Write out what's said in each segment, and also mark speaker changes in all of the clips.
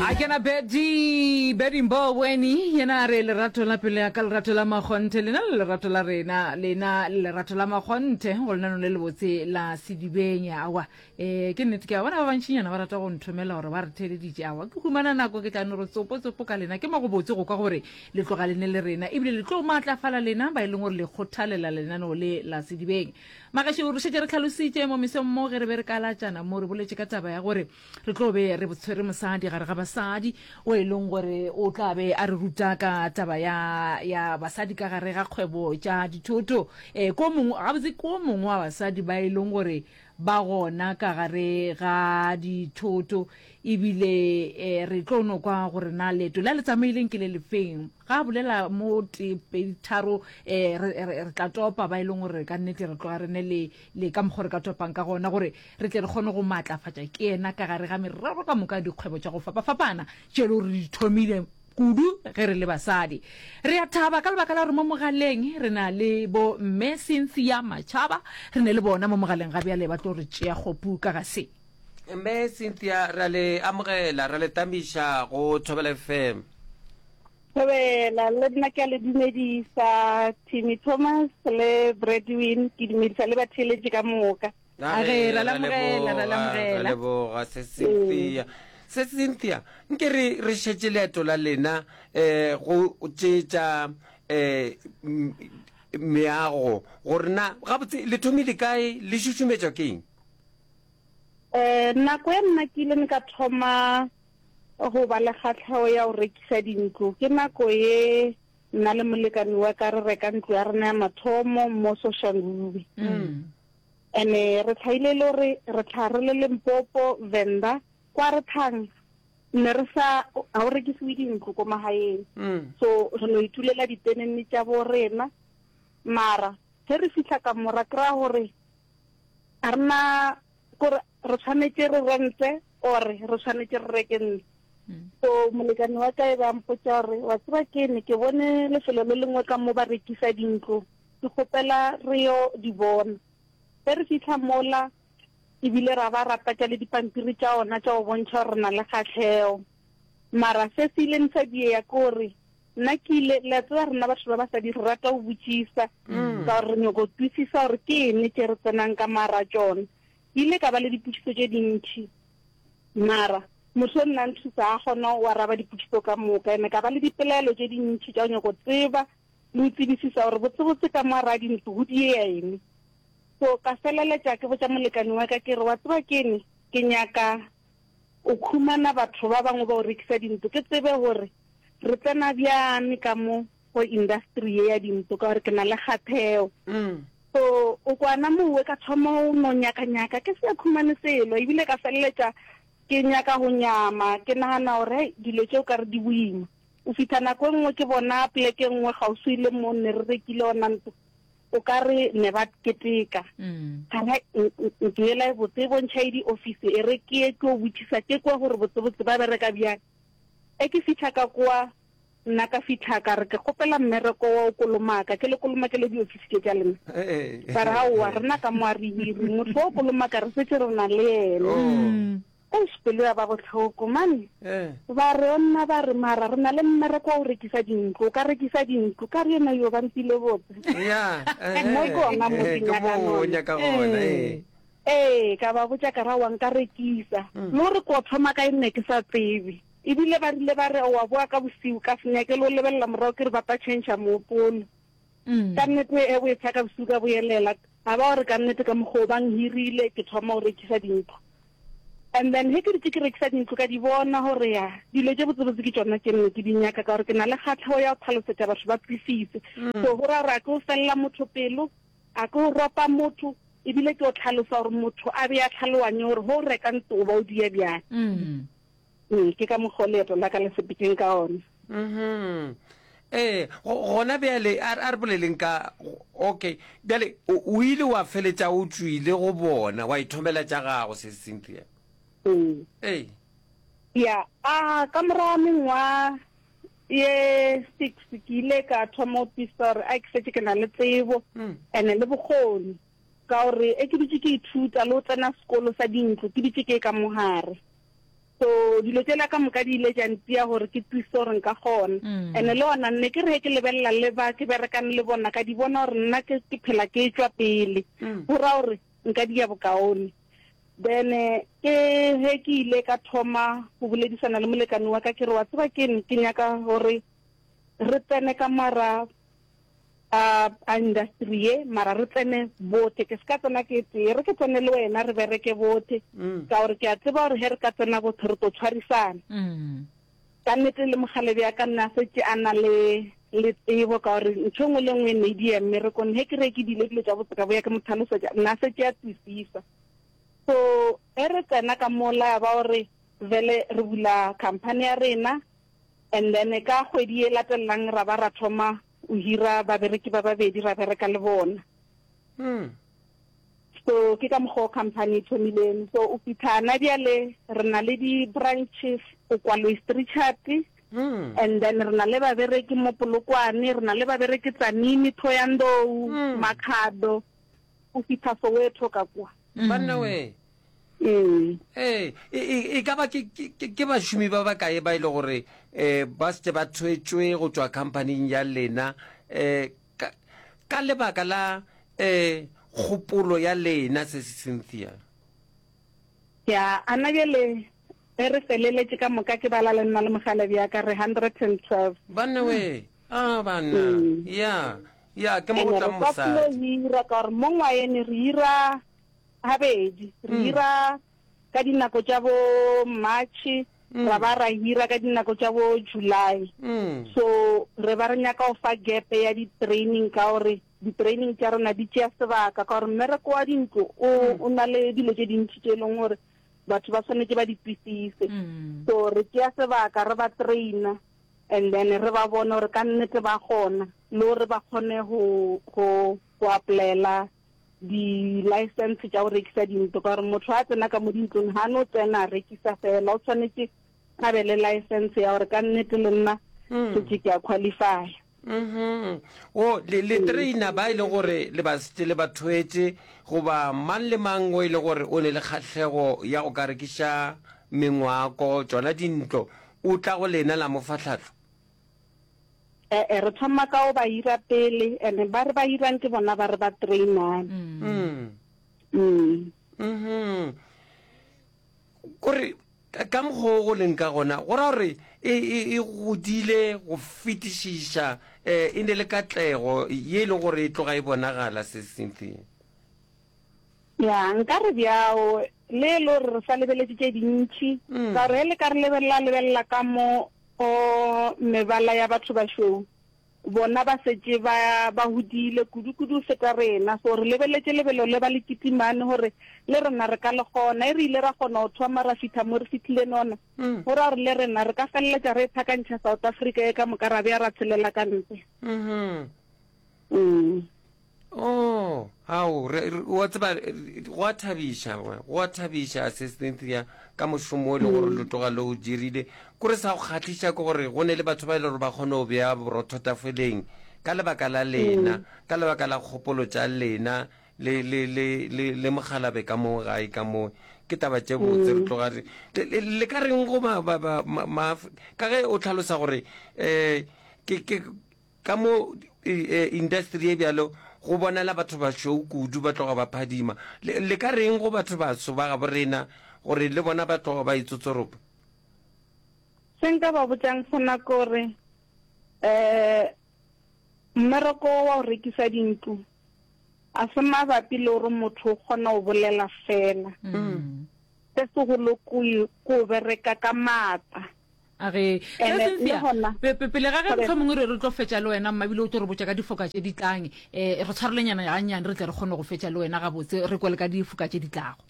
Speaker 1: A kena Betty, Betty Mboweni, yena a re lerato la pelo ya ka, lerato la makgonthe, lena le lerato la rena, lena le lerato la makgonthe, go lenano le lebotse la sedibeng. Awa, eh, ke nnete ke a bona ba bantšinyana ba rata go nthomela gore ba re theeleditše. Awa, ke humana nako ke tla no re tsopo tsopo ka lena. Ke mo go botse go kwa gore le tloga le ne le rena, ebile le tlo maatlafala lena ba e leng gore le kgothalela lenaneo le la sedibeng. Magašo, re šetše re hlalositše mo mesong mo ge re be re kalatšana mo, re boletše ka taba ya gore re tlo be re tshwere mosadi gare ga basadi o e leng gore o tla be a re ruta ka taba ya, ya basadi ka gare ga kgwebo tša dithoto. E, ko mongwe, gabotse ko mongwe wa basadi ba e leng gore ba gona ka gare ga dithoto ebile e, re tlo no kwa gore na leeto le a le tsamaileng ke le lefeng. Ga a bolela mo tee, pedi, tharo, e, re, re, re tla topa ba e leng gore ka nnete re tloga re ne le, le ka mokgwa re ka topang ka gona gore re tle re kgone go maatlafatša ke yena ka gare ga merero ka moka ya dikgwebo tša go fapafapana tše e le gore re di thomile kudu ge re le basadi. Re a thaba ka lebaka la gore mo mogaleng re na le bo Mme Cynthia Machaba, re ne le bona mo mogaleng ga bjale ba tlo re tšea kgopu ka ga se.
Speaker 2: Mme Cynthia, re a le amogela, re a le tamiša go Thobela FM.
Speaker 3: Thobela, le nna ke a le dumedisa, Timmy Thomas le Bradwin, ke dumedisa le batheeletši ka moka.
Speaker 1: A ge, ra lamogela, ra lamogela.
Speaker 2: Ra leboga, se Cynthia. Se Cynthia, nke re re šetše leeto la lena eh go tšetša eh meago gore na gabotse le thomile kae le šušumetšwa ke eng?
Speaker 3: Eh nako ya nna ke ile ka thoma go ba le kgahlego ya go rekisa dintlo ke nako ye nna le molekane wa ka re reka ntlo ya rena ya mathomo mo Soshanguve. Mm. Ene re tlhaile le gore re tlha re le Limpopo, Venda, kwa re tlhang ne re sa ga o rekisiwe dintlo ko magaeng. Mm. So re no itulela ditenene tša bo rena mara ge re fihla ka mo ra kry-a gore a rena kore re tshwanetse re rente or re tshwanetse re reke ntlo. Mm. So molekane wa ka e ba mpotša gore wa tseba ke ne ke bone lefelo le lengwe ka mo ba rekisa dintlo ke kgopela re yo di bona. Ge re fihla mola ebile ra ba ra tlatša le dipampiri tša ona tša go bontšha gore re na le kgahlego. Mara se se ileng sa diega ke gore nna ke ile, le a tseba rena batho ba basadi re rata go botšisa ka gore re nyoko kwisisa gore ke eng tše re tsenang ka mara tšona. Ke ile ka ba le dipotšiso tše dintši mara motho o nna nthusa a kgona go araba dipotšiso ka moka ene ka ba le dipelaelo tše dintši tša go nyoko tseba le go tsebisisa gore botsebotse ka mo a dintlo go diea eng. So ka feleletša ke botša molekane wa ka ke re, wa tseba keng, ke nyaka o khumana batho ba bangwe ba go rekisa dintlo ke tsebe gore re tsena bjang ka mo go industry ye ya dintlo ka gore ke na le kgatheo. So o kwana mowe ka thoma go no nyaka-nyaka ke sa khumane selo ebile ka feleletša ke nyaka go nyama ke nagana gore hei dilo tše o ka re di boima. O fihla nako e nngwe ke bona poleke e nngwe kgauswi le mo ne re rekile ona ntlo, o ka re ne ba keteka. Ka re ntlo yela e botse e bontšha e di-office, e re ke ye ke yo botšisa ke kwe gore botsebotse ba bereka bjang. E ke fihla ka kwa, nna ka fihla ka re ke kgopela mmereko wa go kolomaka, ke le kolomakele di-office tše tša lena. Ba re aowa, rena ka mo a re hiri, motho wa go kolomaka re šetše re na le yena. Eish pelo ya ba bohloko mane. Ba re onna ba re mara re na le mmereko wa go rekisa dintlo, o ka rekisa dintlo. Ka re yena yo ba mpile botse.
Speaker 2: Ya,
Speaker 3: Mo ke ona mo ke
Speaker 2: ke
Speaker 3: nyakang
Speaker 2: mo o
Speaker 3: ona.
Speaker 2: nyaka gona, ee.
Speaker 3: Ee, ka ba botša ka ra wa nka rekisa. Le gore ko thoma kae nne ke sa tsebe. Ebile ba rile ba re wa boa ka bosiu ka se nyake le go lebelela morago ke re ba tla tšhentšha moopolo. Ka nnete e bo e tshaka bosiu ka boyelela. A ba gore ka nnete ka mokgwa o ba nghirile ke thoma go rekisa dintlo. And then ge ke dutše ke rekisa dintlo ka di bona gore ya dilo tše botsebotse ke tšona tše nne ke di nyaka ka gore ke na le kgatlhego ya go tlhalosetša batho ba kwisise. So go ra gore a ke o felela motho pelo, a ke o ropa motho ebile ke o tlhalosa gore motho a be a tlhaloganye gore ge o reka ntlo o ba o dia bjang. Ee, ke ka mokgwa o leeto la ka le sepetšeng ka ona.
Speaker 2: Mhm. Ee, gona bjale a re boleleng ka okay. Bjale o ile wa feletša o tšwile go bona wa ithomela tša gago se Cynthia.
Speaker 3: Ee.
Speaker 2: Ee.
Speaker 3: Ya, a ka morago ga mengwaga ye six ke ile ka thoma go tiisa gore a ke šetše ke na le tsebo and-e le bokgoni ka gore e ke dutše ke ithuta le go tsena sekolo sa dintlo ke dutše ke ka mo gare. So dilo tšela ka moka di ile tša ntia gore ke twise gore nka kgona. And-e le gona nne ke re ge ke lebelela le ba ke berekang le bona ka di bona gore nna ke ke phela ke tšwa pele. Go ra gore nka dia bokaone. Then ke ge ke ile ka thoma go boledisana le molekane wa ka ke re wa tseba keng ke nyaka gore re tsene ka mara a a industry ye mara re tsene bote ke se ka tsena ke tee re ke tsene le wena re bereke bote mm. ka gore ke a tseba gore he re ka tsena botho re tlo tshwarisana mm. ka nnete le mogalebe ya ka nne a setse a na le le tsebo ka gore ntho e nngwe le nngwe e ne e di ya mmerekong he ke re ke dile dilo tša botse ka boya ke mo tlhalosetša nna a setse a tswisisa so ge re tsena ka mola ya ba gore vele re bula company ya rena And then ka kgwedi e latelelang ra ba ra thoma o hira babereki ba babedi ra bereka le bona.
Speaker 2: Mm.
Speaker 3: So ke ka mokgwa o company e thomileng. So o fitlha na bjale re na le di-branches go kwa Louis Trichardt.
Speaker 2: Mm.
Speaker 3: And then re na le babereki mo Polokwane, re na le babereki Tzaneen, Thohoyandou,
Speaker 2: Mm.
Speaker 3: Makhado, o fitlha Soweto ka kwa.
Speaker 2: Banna we.
Speaker 3: Mm.
Speaker 2: Ee, e, e, e ka ba ke, ke, ke bašomi ba bakae ba e le gore um ba setse ba thwetšwe go tšwa khamphaning ya lena um ka, ka lebaka la um kgopolo ya lena se se Cynthia?
Speaker 3: Ya, ana bjale ge re feleletše ka moka ke bala le nna le mogala bja ka re 112.
Speaker 2: Banna we, a banna,
Speaker 3: Mm.
Speaker 2: ya, ya, ke mo go
Speaker 3: Ene re
Speaker 2: tlang
Speaker 3: sa tlilo
Speaker 2: mosadi.
Speaker 3: hira ka gore mo ngwayene re hira gabedi re hira ka dinako tša bo March ra ba ra hira ka dinako tša bo July so re ba re nyaka go fa gap ya di-training ka gore di-training tša rena di tšea sebaka ka gore mmereko wa dintlo o o na le dilo tše dintši tše e leng gore batho ba swanetše ba di kwisise so re tšea sebaka re ba trainer and then re ba bone gore ka nnete ba kgona le gore ba kgone go go go applyela di-license tša go rekisa dintlo ka gore motho a tsena ka mo dintlong ga no tsena a rekisa fela o tshwanetse a be le license ya gore ka nnete le nna hmm. setse ke a qualify
Speaker 2: mm-hmm. o le le trainer ba e le gore le ba setse le ba thwetše goba mang le mang o e le gore o ne le kgahlego ya go ka rekiša mengwako tšona dintlo o tla go lena la mo fa tlhahlo
Speaker 3: E-e, re thoma ka go ba hira pele, and ba re ba hirang ke bona ba re ba trainang.
Speaker 2: Mm.
Speaker 3: Mm.
Speaker 2: Mhm. Kore ka mokgwa o go leng ka gona go ra gore e, e, e godile go fetišiša um e ne le katlego ye e leng gore e tloga e bonagala se Cynthia.
Speaker 3: Ya, nka re bjao, le e le gore re sa lebeletše tše dintši,
Speaker 2: Mm.
Speaker 3: ka gore ge le ka re lebelela lebelela ka mo o mebala ya batho bašweu, bona ba setše ba ba hodile kudu-kudu go feta rena. So re lebeletše lebelo le ba le kitimane gore le rena re ka le kgona. E re ile ra kgona go thoma ra fihla mo re fihlile nona,
Speaker 2: Mm.
Speaker 3: go ra gore le rena re ka feleletša re e phakantšha South Africa ye ka moka ra bea ra tshelela ka ntle.
Speaker 2: Mhm.
Speaker 3: Mm.
Speaker 2: Oh, ao, re, re, wa tseba, go a thabiša, go a thabiša, Sis Cynthia, ka mošomo o e le gore lo tloga lo o dirile. Kore sa go kgahliša ke gore go ne le batho ba e le gore ba kgone go bea borotho tafoleng ka lebaka la lena, ka lebaka la kgopolo tša lena le, le, le, le, le mogalabe ka mo gae ka mo. Ke taba tše botse, re tloga re, le, le, le ka reng go ma, ba, ba, ma, ma, ka ge o hlalosa gore, eh, ke, ke, Ka mo industry ye bjalo go bonala batho bašweu kudu ba tloga ba phadima. Le, le ka reng go batho baso ba gabo rena gore le bona ba tloga ba itsotsoropa?
Speaker 3: Se nka ba botšang sona ke gore um mmereko wa go rekisa dintlo a se mabapi le gore motho o kgona go bolela fela. Se segolo ke go bereka ka maatla.
Speaker 1: A re,
Speaker 3: Ene,
Speaker 1: Ge Cynthia,
Speaker 3: le gona-
Speaker 1: pe- pe- pele ga ge
Speaker 3: Thobela.
Speaker 1: mohlomongwe re re tlo fetša le wena, mma ebile o tlo re botša ka difoka tše di tlang, um re tshwarelenyana gannyane re tle re kgone go fetša le wena gabotse, re kwe le ka difoka tše di tlago.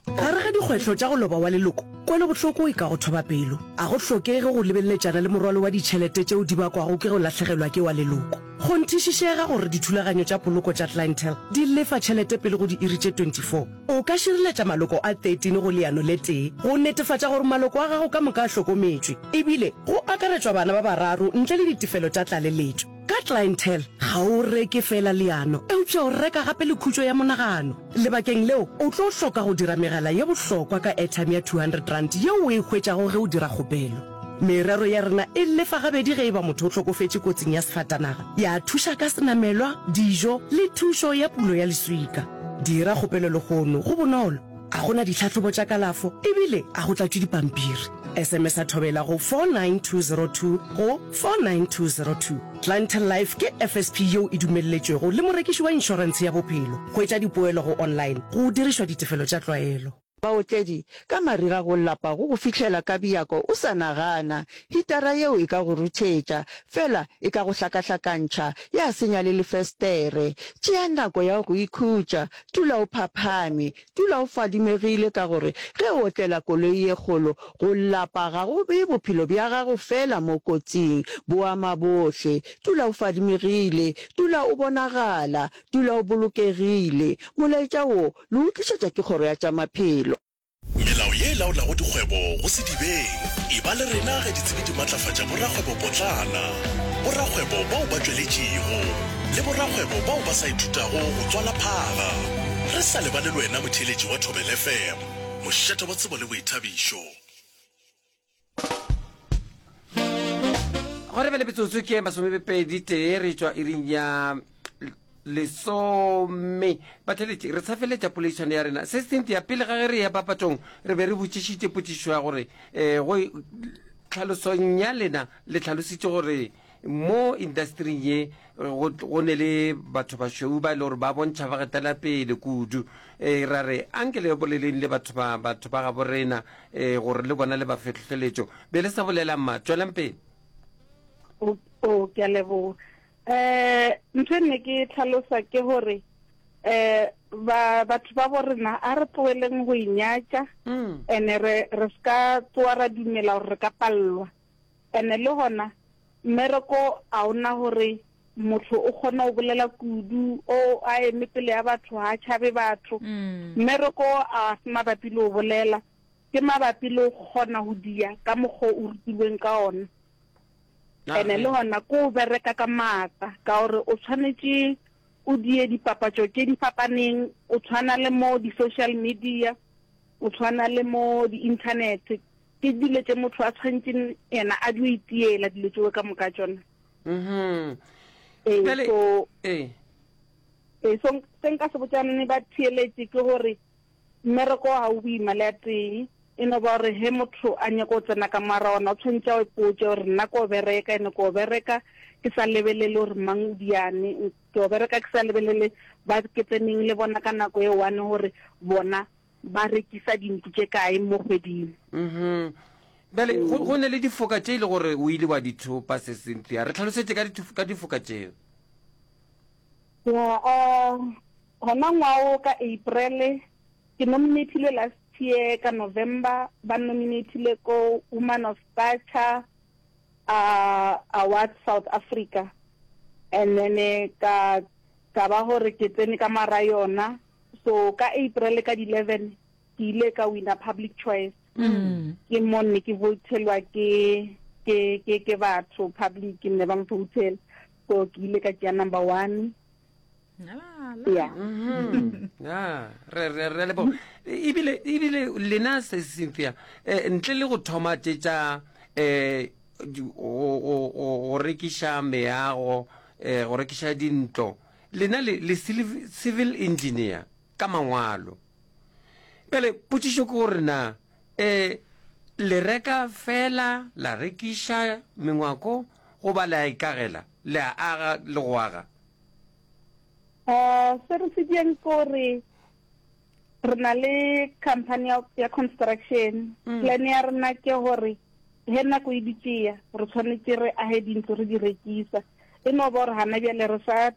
Speaker 4: Gare ga dikgwehlo tša go loba wa leloko, kwelobohloko e ka go thoba pelo. A go hlokege go lebeleletšana le morwalo wa ditšhelete tšeo di bakwago ke go lahlegelwa ke wa leloko. Kgonthišišega gore dithulaganyo tša poloko tša Clientele di lefa tšhelete pele go diiri tše 24. O ka šireletša maloko a 13 go leano le tee go netefatša gore maloko a gago ka moka a hlokometšwe, ebile go akaretšwa bana ba bararo ntle le ditefelo tša tlaleletšo. Ka. Ka Clientele, ga o reke feela leano, eupša o reka gape le khutšo ya monagano. Lebakeng leo, o tlo hloka go dira megala ye bohlokwa ka airtime ya R200 yeo o e hwetšago ge o dira kgopelo. Merero ya rena e lefa gabedi ge e ba motho o hlokofetše kotsing ya sefatanaga, ya thuša ka senamelwa, dijo le thušo ya pulo ya leswika. Dira kgopelo lehono, go bonolo, ga go na ditlhahlobo tša kalafo ebile ga go tlatšwe dipampiri. SMS-a Thobela go 49202 go 49202. Clientele Life ke FSP yeo e dumelletšwego le morekiši wa inšorentshe ya bophelo. Hwetša dipoelo go online go dirišwa ditefelo tša tlwaelo.
Speaker 5: Baotledi, Ka mariga go lapa go go fihlela ka bjako o sa nagana. Hitara yeo e ka go ruthetša, fela e ka go hlakahlakantšha, ya senya le lefestere. Tšea nako ya go ikhutša, dula o phaphame, Dula o fadimegile ka gore ge o otlela koloi ye kgolo, go lapa ga go bee bophelo bja gago feela mo kotsing, bo ama bohle. Dula o fadimegile, dula o bonagala, dula o bolokegile. Molaetša wo le o tlišetša ke Kgoro ya tša Maphelo.
Speaker 6: Melao ye e laolago dikgwebo go sedibeng. Eba le rena ge ditsebi di matlafatša borakgwebopotlana, borakgwebo bao ba tšweletšego, le borakgwebo bao ba sa ithutago go tswala phaga. Re sa lebale le wena motheeletši wa Thobela FM, mošate wa tsebo le boithabišo.
Speaker 2: Gore bjale metsotso ke masomepedi tee re tšwa iring ya lesome. Batheeletši, re sa feletša poledišano ya rena. Se Cynthia, pele ga ge re ya papatšong, re be re botšišitše potšišo ya gore um go tlhalosong ya lena le tlhalositše gore mo industering ye go, go ne le batho bašweu ba e le gore ba bontšha ba getela pele kudu. Um ra re anke le boleleng le batho ba batho ba gabo rena um gore le bona le ba fe tlhohleletšo. Be le sa bolela mma, tšwelang pele.
Speaker 3: O, o, ke a leboga. Eh, ntho e nne ke tlhalosa ke gore eh ba batho ba bo rena a re tlogeleng go inyatša mm. ene re re ska tsoa ra dumela gore re ka pallwa ene le gona mmereko a ona gore motho o kgona go bolela kudu o a eme pele ya batho ga a tšhabe batho mm. mmereko a se mabapi le go bolela ke mabapi le go kgona go dia ka mokgwa o rutilweng ka ona Ene le gona ko o bereka ka maatla ka gore o tshwanetše o die dipapatšo tše di fapaneng, o tshwana le mo di-social media, o tshwana le mo di-internet. Ke dilo tše motho a tshwanetšeng yena a dio itiela dilo tšeo ka moka tšona.
Speaker 2: Mhm.
Speaker 3: Ee,
Speaker 2: Bjale,
Speaker 3: so
Speaker 2: ee.
Speaker 3: ee, so se nka se botšang ba theeletše ke gore Mmereko ga o boima le a tee, e no ba gore ge motho a nyaka go tsena ka moara ona o tshwanetše a ipotše gore nna ko bereka ene ko bereka ke sa lebelele gore mang o diane, ke o bereka ke sa lebelele ba ke tseneng le bona ka nako e one gore bona ba rekisa dintlo tše kae mo kgweding.
Speaker 2: Mhm. Bjale go, go ne le difoka tše e le gore o ile wa di thopa, se Cynthia. Re hlalosetše ka ka difoka tšeo.
Speaker 3: Ya, uh, Gona ngwago ka April, ke nominatilwe last year ka November, ba nnominathile ko Woman of Stature uh, Awards South Africa. And then ka ka ba gore ke tsene ka mara yona. So ka April ka di 11 ke ile ka wina public choice. Mm. Ke mo ne ke votelwa ke ke ke ke batho public ne ba mvoutela. So ke ile ka tšea number 1. ya
Speaker 2: mm-hmm. re re re lebo ebile ebile lena se Cynthia eh, ntle le go thoma tše tša eh go rekiša meago eh go rekiša dintlo lena le le civil engineer ka mangwalo pele potšišo ke gore na eh le reka fela la rekiša mengwako goba le a ikagela le a aga le go aga
Speaker 3: Uh, se re se diang ke gore re na le company ya, ya construction mm. plan ya rena ke gore he nako e ditšea re tshwanetse re age dintlo re di rekisa e no ba gore gana bjale re sa